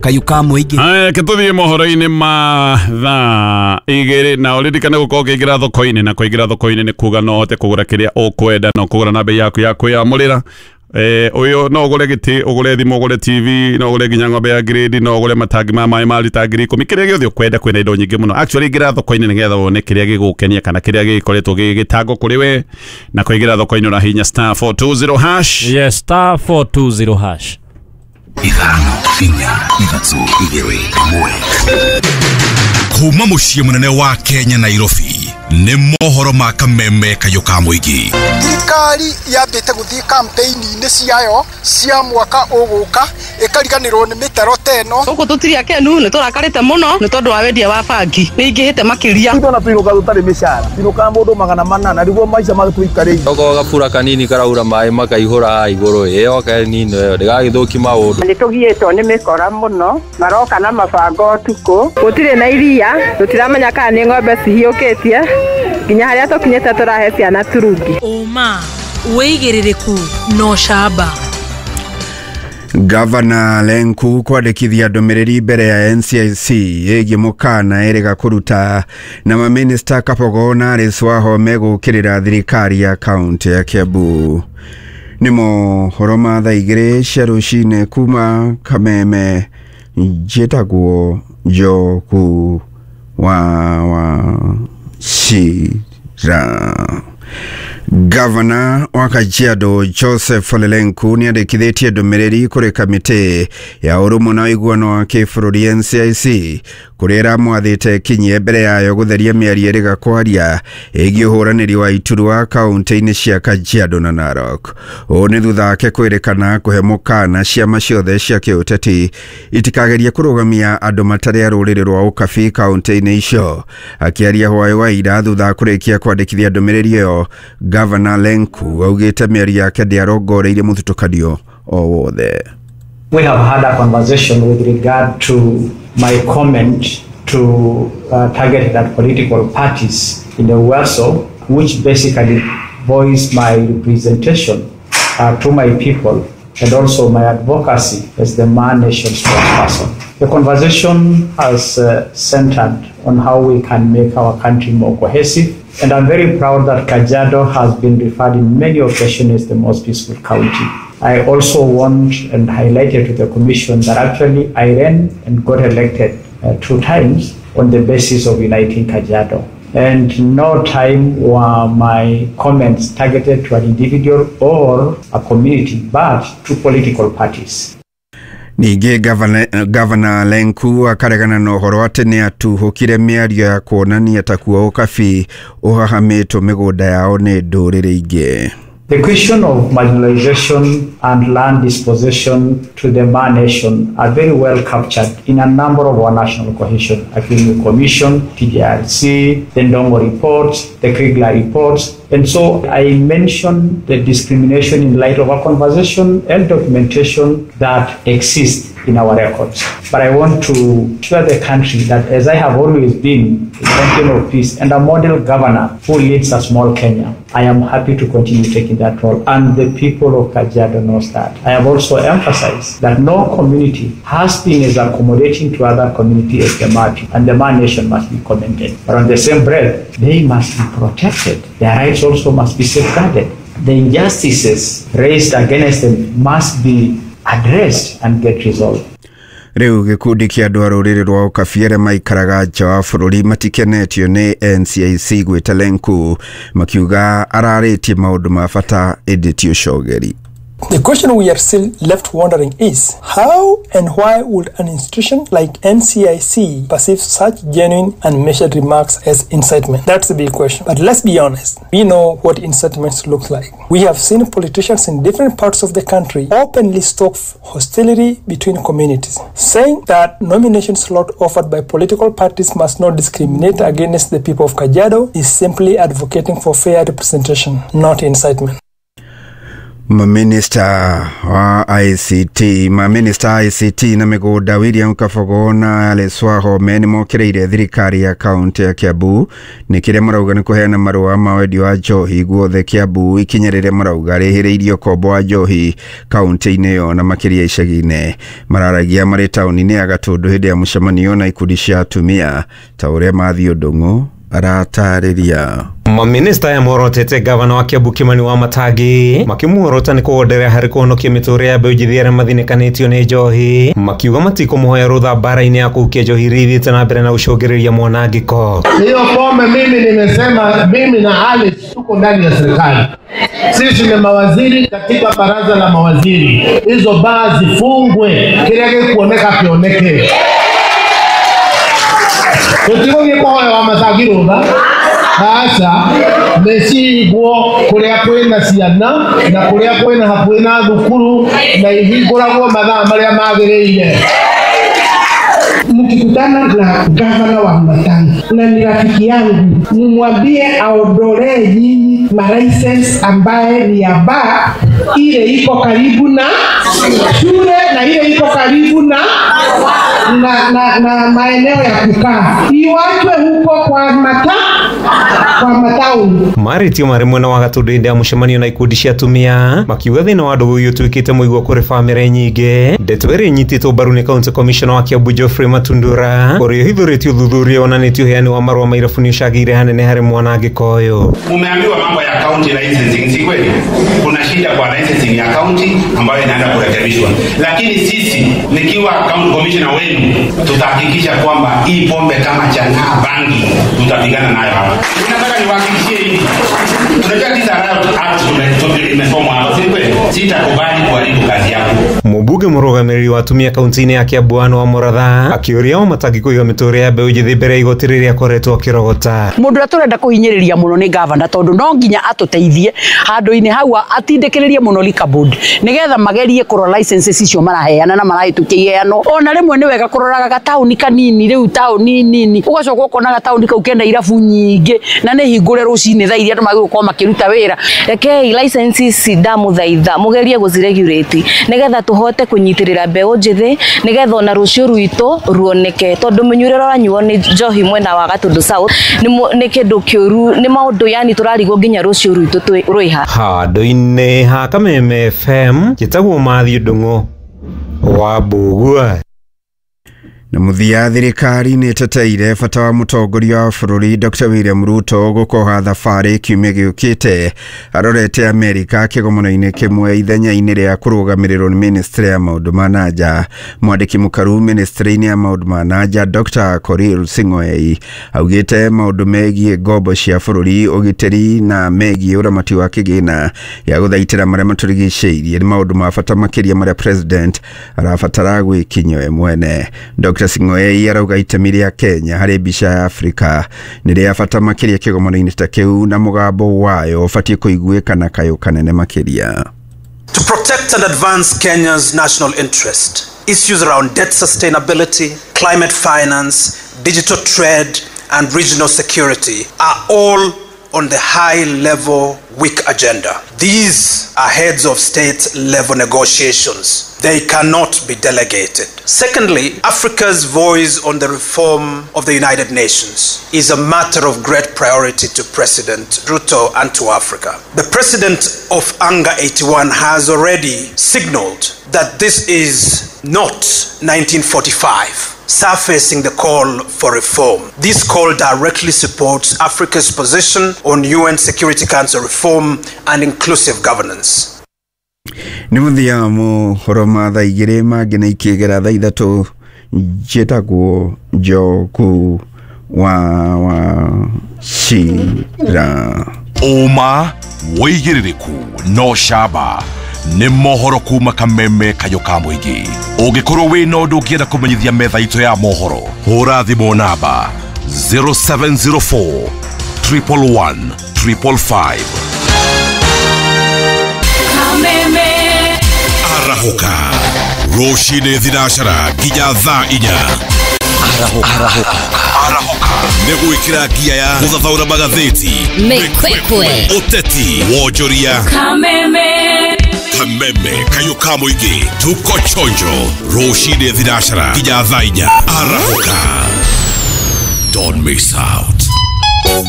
Kayu ka mũingĩ. Aya, ke tũthiĩ mohoro-inĩ ma thaa 2 na ũririkane gũkorwo ũkĩingĩra thoko-inĩ, na kũingĩra thoko-inĩ nĩ kuga no ũhote kũgũra kĩrĩa ũkwenda na ũkũgũra na bei yaku ya kwĩyamũrĩra. Ũyũ no ũgũre gĩtĩ, ũgũre thimũ, ũgũre TV, no ũgũre nginya ng'ombe ya grade, no ũgũre matangi ma maĩ ma rita 10,000, kĩrĩa gĩothe ũkwenda. Kwĩna indo nyingĩ mũno. Actually, ingĩra thoko-inĩ nĩgetha wone kĩrĩa gĩgũkenia kana kĩrĩa gĩkoretwo gĩgĩtangwo kũrĩ we. Na kũingĩra thoko-inĩ ũrahihinya *420#. Yes, *420#. 5 4 3 2 1. Kuma mũciĩ mũnene wa Kenya Nairobi, nĩ mohoro ma kameme kayũ ka mũingĩ. Thirikari yambĩte gũthiĩ campaign-inĩ ciayo cia mwaka ũgũka, ĩkariganĩrwo nĩ mĩtaro ta ĩno. Gũkũ tũtirĩ akenu, nĩ tũrakarĩte mũno nĩ tondũ wa wendia wa bangi nĩ ingĩhĩte makĩria. Ithuĩ ona tũinũkaga tũtarĩ mĩcara, twinũkaga mũndũ 400 nĩguo maica matũikarĩire. Okorwo gabura kanini karaura maĩ makaihũra igũrũ, ĩyo kanini ĩyo ndĩgagĩthũki maũndũ. Nĩ tũgiĩtwo nĩ mĩkora mũno, maroka na mabango ũtukũ. Gũtirĩ na iria, tũtiramenya kana nĩ ng'ombe cihiũkĩtie, nginya harĩa tũkinyĩte tũrahe ciana turungi. Ũma, wĩigĩrĩrĩku na ũcamba. Gavana Lenku kwandĩkithia ndũmĩrĩri mbere ya NCIC ĩgiĩ mũkana ĩrĩga kũruta na mamĩnĩsta Kabogo na Alice Wahome gũkĩrĩra thirikari ya kaũntĩ ya Kiambu. Nĩ mohoro ma thaa 2 cia rũcinĩ kuma Kameme. Njĩtagwo Njogu wa Wachira. Gavana wa Kajiado Joseph Ole Lenku nĩ andĩkithĩtie ndũmĩrĩri kũrĩ kamĩtĩ ya ũrũmwe na ũiguano wa kĩbũrũri NCIC, kũrĩa ĩramwathĩte kinyie mbere yayo gũtheria mĩario ĩrĩga kwaria ĩgiĩ ũhũranĩri wa iturwa kaũntĩ-inĩ cia Kajiado na Narok. Ũũ nĩ thutha wake kwĩrĩkana kũhe mũkana ciama ciothe cia kĩũteti itikagerie kũrũgamia andũ matarĩ a rũrĩrĩ rwa ũkabi kaũntĩ-inĩ icio. Akĩaria hwaĩ wa ira thutha wa kũrĩkia kwandĩkithia ndũmĩrĩri ĩyo, Gavana Lenku augĩte mĩario yake ndĩarongoreirie mũthutũkanio o wothe. We have had a conversation with regard to my comment to targeted at political parties in the Uaso, which basically voiced my representation to my people and also my advocacy as the Maa Nation spokesperson. The conversation has centered on how we can make our country more cohesive, and I'm very proud that Kajiado has been referred in many occasions as the most peaceful county. I also want and highlighted to the Commission that actually I ran and got elected 2 times on the basis of uniting Kajiado. And no time were my comments targeted to an individual or a community, but to political parties. Ningĩ Gavana Lenku akaregana na ũhoro atĩ nĩ atuhũkire mĩario ya kuonania ta kuo ũkabi ũhahamĩtwo mĩgũnda yao nĩ ndũrĩrĩ ingĩ. The question of marginalization and land dispossession to the Maa Nation are very well captured in a number of our national cohesion agreement commission, TJRC, the Ndongo reports, the Kriegler reports. And so I mentioned the discrimination in light of a conversation and documentation that exists in our records. But I want to assure the country that as I have always been a champion of peace and a model governor who leads a small Kenya, I am happy to continue taking that role, and the people of Kajiado knows that. I have also emphasized that no community has been as accommodating to other community as the Maa, and the Maa Nation must be commended. But on the same breath, they must be protected. Their rights also must be safeguarded. The injustices raised against them must be addressed and get resolved. Rĩu gĩkundi kĩa andũ a rũrĩrĩ rwa ũkabi arĩa maikaraga nja wa bũrũri matikenetio nĩ NCIC gwĩta Lenku, makiuga ararĩtie maũndũ ma bata ĩndĩ ti ũcogeri. The question we are still left wondering is, how and why would an institution like NCIC perceive such genuine and measured remarks as incitement? That's the big question. But let's be honest, we know what incitements look like. We have seen politicians in different parts of the country openly stoke hostility between communities, saying that nomination slot offered by political parties must not discriminate against the people of Kajiado is simply advocating for fair representation, not incitement. Maminista wa ICT, maminista ICT na mĩgũnda William Kabogo na Alice Wahome nĩ mokĩrĩire thirikari ya kaunti ya Kiambu nĩ kĩrĩa marauga nĩ kũheana marũa ma wendia wa njohi guothe Kiambu, ikinya rĩrĩa marauga rĩhĩrĩirie ũkombo wa njohi kaunti-inĩ ĩyo na makĩria icagi-inĩ. Mararagia marĩ taũni-inĩ ya Gatũndũ hĩndĩ ya mũcemanio na ikundi cia atumia ta ũrĩa Mathiũ Ndung'u aratarĩria. Maminista ya morotete gavana wa Kiambu Kimani wa Matangi makimuorota ni kugonderea hari kuhonokia miturire ya mbeũ njĩthĩ arĩa mathinĩkanĩtio nĩ njohi, makiuga matikũmũhoya rũtha mbara-inĩ ya kũhukia njohi iria ithiĩte na mbere na gũcũngĩrĩria mwanangĩko. Hiyo pombe mimi nimesema, mimi na Alice tuko ndani ya serikali, sisi ni mawaziri katika baraza la mawaziri. Hizo baa zifungwe, kila gĩkuoneka kĩoneke. Tũtigũthiĩ kũhoya wa Matangi rũtha. Aca nĩcihingwo kũrĩa kwĩna ciana na kũrĩa kwĩna hakuhĩ na thukuru na ihingũragwo mathaa marĩa magĩrĩire. Mkikutana na gavana wa Matangi na ni rafiki yangu, mumwambie aondolee nyinyi ma-license ambaye ni ya bar ile iko karibu na shule na ile iko karibu na maeneo ya kukaa, iwachwe huko kwa matauni. Marĩtio marĩ mwena wa Gatũndũ hĩndĩ ya mũcemanio na ikundi cia atumia makiuga thĩna wa ndũgũ ũyũ ũtuĩkĩte mũigua kũrĩ bamĩrĩ nyingĩ. Ndeto ĩrĩa ĩnyitĩtwo mbaru nĩ County Commissioner wa Kiambu Geoffrey Matundura ũrĩa ũhithũrĩtie ũthuthuria wonanĩtie ũheani wa marũa ma irabu nĩ ũcangĩire hanene harĩ mwanangĩko ũyũ. Umeambiwa mambo ya county licensing, si kweli? Kuna shida kwa licensing ya county ambayo inaenda kurekebishwa, lakini sisi nikiwa county commissioner wenu tutahakikisha kwamba hii pombe kama chang'aa, bangi tutapigana nayo hapa. Nataka niwahakikishie hivi, unajua tisa Act imesomwa hapa, si kweli? Sitakubali kuharibu kazi yangu. Mũmbunge mũrũgamĩrĩri wa atumia kaunti-inĩ ya Kiambu Anne wa Mũratha akĩũria o Matangi kũiga mĩtũrĩre ya mbeũ njĩthĩ mbere ya igoti rĩrĩa akoretwo akĩrogota. Mũndũ ũrĩa tũrenda kũhinyĩrĩria mũno nĩ gavana, tondũ no nginya atũteithie handũ-inĩ hau atindĩkĩrĩrie mũno liquor board nĩgetha magerie kũrora licenses icio maraheana na marahĩtũkia iheano. Ona rĩmwe nĩ wega kũroraga gataũni kanini, rĩu taũni nini ũgacoka ũkona gataũni kau kena irabu nyingĩ na nĩ hingũre rũcinĩ thaa iria andũ magĩrĩirwo gũkorwo makĩruta wĩra. Rekei licenses ndamũthaitha mũgerie gũciregulate nĩgetha tũhote kũnyitĩrĩra mbeũ njĩthĩ nĩgetha ona rũciũ rwitũ ruoneke, tondũ mũnyuĩre ũranyuo nĩ njohi mwena wa Gatũndũ South nĩ kĩndũ kĩũru, nĩ maũndũ yani tũrarigwo nginya rũciũ rwitũ rwĩha. Handũ-inĩ ha Kameme FM njĩtagwo Mathiũ Ndung'u wa Mbũgua. Na mũthia, thirikari nĩ ĩteteire bata wa mũtongoria wa bũrũri Dr. William Ruto gũkoha thabarĩ kiumia gĩũkĩte arorete Amerika kĩgomano-inĩ kĩmwe ithenya-inĩ rĩa kũrũgamĩrĩrwo nĩ ministry ya maũndũ ma nanja. Mwandĩki mũkaru ministry-inĩ ya maũndũ ma nanja Dr. Korir Sing'oei augĩte maũndũ megiĩ ngombo cia bũrũri, ũgitĩri na megiĩ ũramati wa kĩgĩna ya gũthaitĩra marĩa matũrigicĩirie nĩ maũndũ ma bata makĩria marĩa president arabatara gwĩkinyia we mwene. Dr. Sing'oei arauga itemi rĩa Kenya harĩ mbica ya Afrika nĩ rĩa bata makĩria kĩgomano-inĩ ta kĩu na mũgambo wayo ũbatiĩ kũiguĩka na kayũ kanene makĩria. To protect and advance Kenya's national interest, issues around debt sustainability, climate finance, digital trade, and regional security are all on the high-level week agenda. These are heads of state level negotiations. They cannot be delegated. Secondly, Africa's voice on the reform of the United Nations is a matter of great priority to President Ruto and to Africa. The president of ANGA 81 has already signaled that this is not 1945, surfacing the call for reform. This call directly supports Africa's position on UN Security Council reform and inclusive governance. Nĩ mũthia mohoro ma thaa igĩrĩ mangĩ na ikĩgera thaa ithatũ. Njĩtagwo Njoku wa Wachira. Ũma wĩigĩrĩrĩku no camba nĩ mohoro kuma Kameme kayũ ka mũingĩ. Ũngĩkorwo wĩna ũndũ ũngĩenda kũmenyithia metha itũ ya mohoro, hũra thimũ namba 0704 111 555. Arahũka rũcinĩ thinacara nginya thaa inya. Arahũka nĩ gwĩkĩra ngia ya gũthathaũra magathĩti, Mĩkwekwe, ũteti, wonjoria. Kameme. Kameme kayo ka mũingĩ, tuko chonjo rũcinĩ thinacara nginya thaa 4 arahũka. Don't miss out.